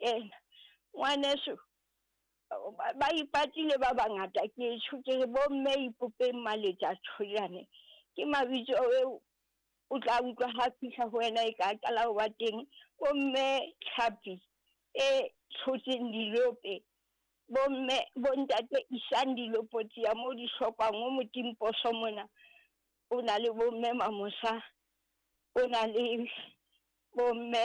kena. Ngwaneso ba ipatile ba bangata ke tjho ke re bomme ipopeng maletja tshojane. Ke mabitso eo o tla utlwa ha fihla ho wena e ka qala ho ba teng. Bomme tlhapi e tshotseng dilope, bomme bontate isang dilopo tsia mo di hlokwang o motimposo mona. O na le bomme Mamosa, o na le bomme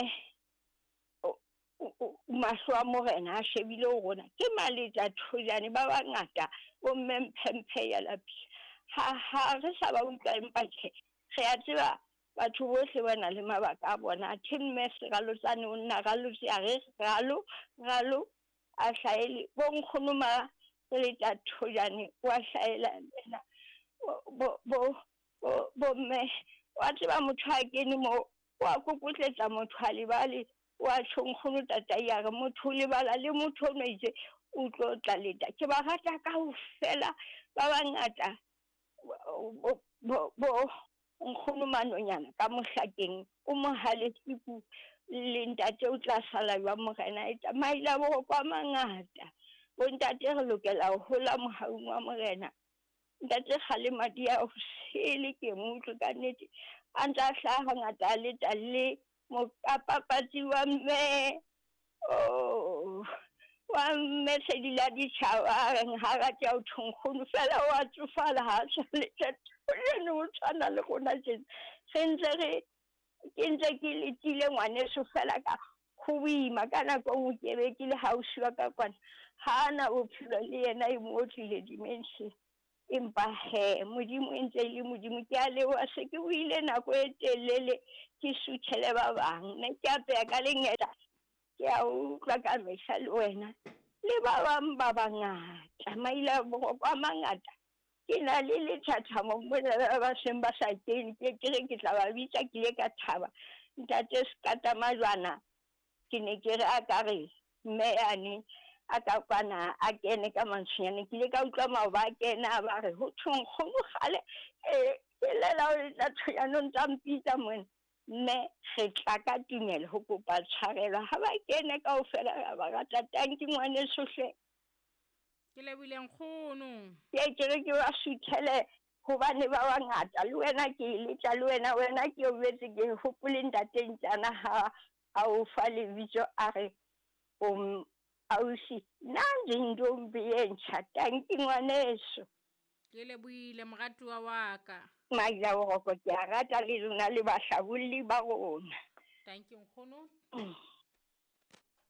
mahlo a morena a shebile ho rona. Ke maletja thojane ba bangata, bomme mphemphe ya lapisa. Ha re sa ba utlwa empa tjhe, re a tseba batho bohle ba na le mabaka a bona. Athe mme Seralotsane o nna ralotse a re ralo ralo a hlaele. Bo nkgono ma letja thojane wa hlaela lena. Bo bo bo mme wa tseba motho a kene mo wa kokotletsa motho a lebale wa tjho nkgono tatai a re motho o lebala le motho o no itse o tlo tla leta. Ke ba rata kaofela ba bangata bo bo nkgono manonyana ka mohlakeng o mohalesiku le ntate o tla sala jwa morena eta maila boroko a mangata. Bontate re lokela ho hola mohaung wa morena. Ntate kgale madi a sele ke mo utlwe ka nnete a ntse a hlaha hangata a leta le mokapapatsi wa mme oh wa mme sedi la ditjhaba a reng ha rate ya ho thwe nkgono fela wa tsofala ha a sa letja tshojane o tshwana le rona tjena. Re ntse re ke ntse ke letile ngwaneso fela ka ho boima ka nako e nngwe ke be ke le hausi wa ka kwana ha ana bophelo le yena e mo otlile dementia. Empa he Modimo e ntse e le Modimo. Ke a leboha se ke buile nako e telele ke suthele ba bang. Ne ke apeya ka lengeta ke a utlwa ka mehla le wena le ba bang ba bangata maila boroko a mangata. Ke na le lethathamo mona ba seng ba sa kene ke ke re ke tla ba bitsa ke ile ka thaba. Ntate Sekata Majwana ke ne ke re a ka re mme yane a ka kwana a kene ka mantswenyane. Ke ile ka utlwa maoba a kena a ba re ho thwe nkgono kgale ke lela o letla tshonyane o ntsa mpitsa mona. Mme re tla ka tumelo ho kopa tshwarelo ha ba kene kaofela ra ba rata. Tanki ngwaneso hle. Ke lebohile nkgono. Ke ke re ke ba suthele hobane ba bangata le wena ke e letla le wena wena ke o betse ke hopole ntate Ntjana ha a o fa lebitso a re o ausi nna ntombi e ntjha. Tanki ngwaneso. Ke lebohile moratuwa wa ka. Maila boroko ke a rata le lona le bahlabolli ba rona. Tanki nkgono.